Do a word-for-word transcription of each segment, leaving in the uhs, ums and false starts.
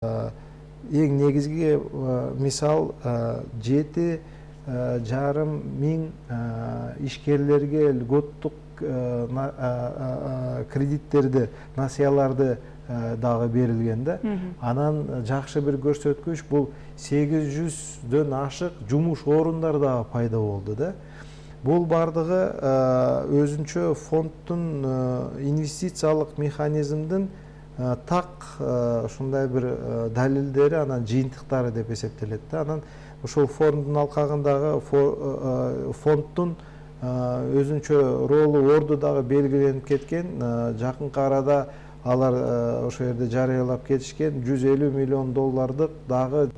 Эң негизги мисал жети жарым миң ишкерлерге льготтук кредиттерди, насыяларды дагы берилген да. Анан жакшы бир көрсөткүч бул сегиз жүздөн ашык жумуш орундар дагы пайда болду да. Бул бардыгы өзүнчө фонддун инвестициялык механизмдин так ушундай бир далилдери, анан жыйынтыктары деп эсептелет да. Анан ошол фонддун алкагындагы фонддун өзүнчө ролу, орду дагы белгиленип кеткен. Жакынкы арада алар ошол жерде жарыялап кетишкен жүз элүү миллион доллардык дагы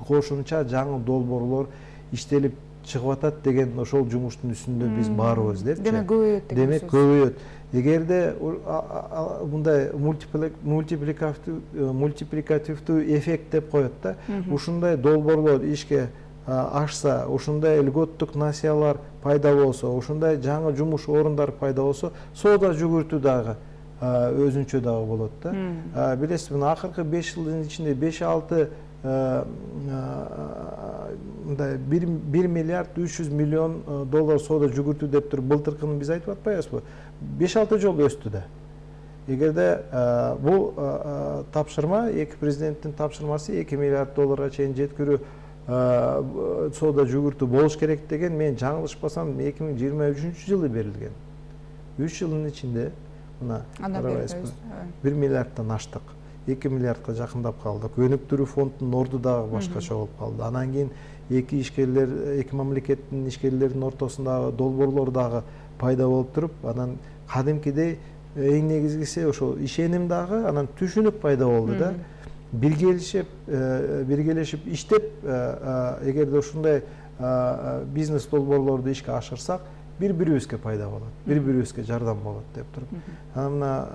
кошумча жаңы долбоорлор иштелип чыгып атат деген ошол жумуштун үстүндө биз барбыз депчи. Демек көбөйөт деген Демек көбөйөт. Эгерде мындай мультипликативдүү эффект деп коет да, ушундай долбоорлор ишке ашса, ушундай льготтук насыялар пайда болсо, ушундай жаңы жумуш орундар пайда болсо, соода жүгүртүү дагы өзүнчө дагы болот да. Билесиз, мына акыркы беш жылдын ичинде беш алты мындай бир миллиард үч жүз миллион доллар соода жүгүртүү деп туруп былтыркыны биз айтып атпайбызбы? беш алты жолу өстү да. Эгерде бул тапшырма, эки президенттин тапшырмасы эки миллиард долларга чейин жеткирүү соода жүгүртүү болуш керек деген, мен жаңылышпасам эки миң жыйырма үчүнчү жылы берилген. үч жылдын ичинде мына карабайсызбы, бир миллиарддан аштык. эки миллиардка жакындап калдык. Өнүктүрүү фондунун орду дагы башкача болуп калды. Анан кийин эки ишкерлер, эки мамлекеттин ишкерлеринин ортосундагы долбоорлор дагы пайда болуп туруп, анан кадимкидей эң негизгиси ошол ишеним дагы, анан түшүнүк пайда болду да. Биргелешип, биргелешип иштеп, эгерде ушундай бизнес долбоорлорду ишке ашырсак, бири-бирибизге пайда болот, бири-бирибизге жардам болот деп туруп. Мына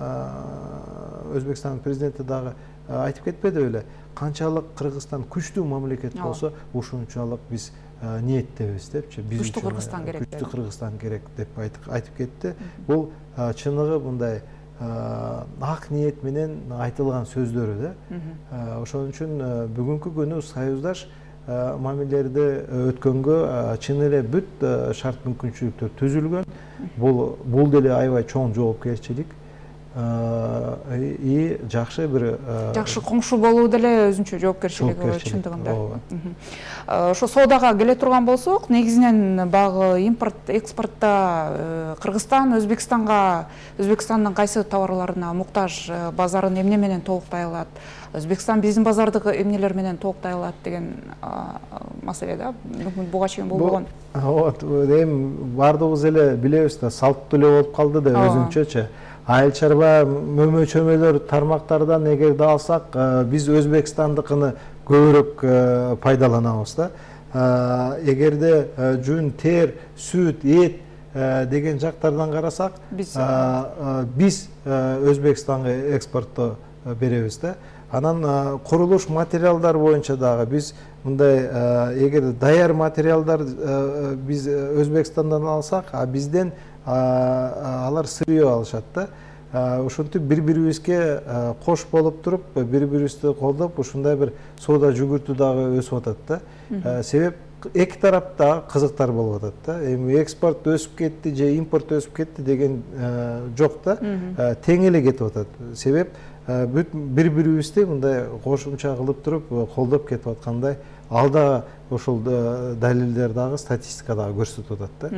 Өзбекстандын президенти дагы айтып кетпеди беле, канчалык Кыргызстан күчтүү мамлекет болсо, ошончолук биз ниеттебиз депчи. Күчтүү Кыргызстан керек. Күчтүү Кыргызстан керек деп айтып кетти. Бул чыныгы мындай ак ниет менен айтылган сөздөрү да. Ошон үчүн бүгүнкү күнү союздаш мамилелерди өткөнгө чын эле бүт шарт мүмкүнчүлүктөр түзүлгөн. Бул бул деле аябай чоң жоопкерчилик и жакшы бир жакшы коңшу болуу деле өзүнчө жоопкерчилиги бар чындыгында. Ошо соодага келе турган болсок, негизинен багы импорт, экспортто Кыргызстан Өзбекстанга, Өзбекстандын кайсы товарларына муктаж базарын эмне менен толуктай алат? Өзбекстан биздин базардагы эмнелер менен толуктай алат деген маселе да. Буга чейин болбогон. Вот, эми бардыгыбыз эле билебиз да, салттуу эле болуп калды да өзүнчөчө. Айыл чарба мөмө-чөмөлөр тармактардан эгерде алсак, биз Өзбекстандыкыны көбүрөөк пайдаланабыз да. Эгерде жүн, тер, сүт, эт деген жактардан карасак, биз Өзбекстанга экспортто беребиз да. Анан курулуш материалдар боюнча дагы биз мындай, эгер даяр материалдар биз Өзбекстандан алсак, а бизден алар сырье алышат да. Ошентип бири-бирибизге кош болуп туруп, бири-бирибизди колдоп, ушундай бир соода жүгүртүү дагы өсүп атат да. Себеп эки тарапта кызыктар болуп атат да. Эми экспорт өсүп кетти же импорт өсүп кетти деген жок да. Тең эле кетип атат. Себеп бүт бири-бирибизди мындай кошумча кылып туруп колдоп кетип аткандай, алда ошол далилдер дагы, статистика дагы көрсөтүп атат да.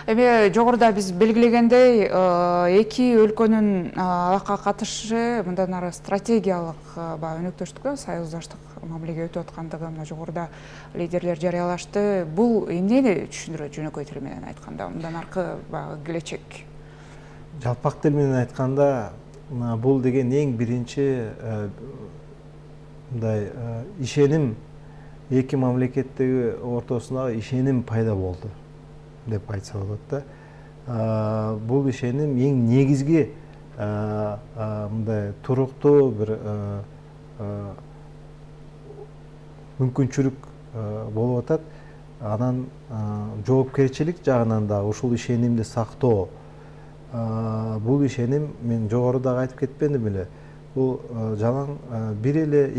Эми жогоруда биз белгилегендей, эки өлкөнүн алакка катышы мындан ары стратегиялык өнөктөштүккө, союздаштык мамилеге өтүп аткандыгы мына жогоруда лидерлер жарыялашты. Бул эмнени түшүндүрөт жөнөкөй тил менен айтканда, мындан аркы келечек? Жалпак тил менен айтканда, бул деген эң биринчи мындай ишеним, эки мамлекеттеги ортосундагы ишеним пайда болду деп айтса болот да. Бул ишеним эң негизги мындай туруктуу бир мүмкүнчүлүк болуп атат. Анан жоопкерчилик жагынан да ушул ишенимди сактоо. Бул ишеним, мен жогоруда айтып кетпедим беле, бул жалаң бир эле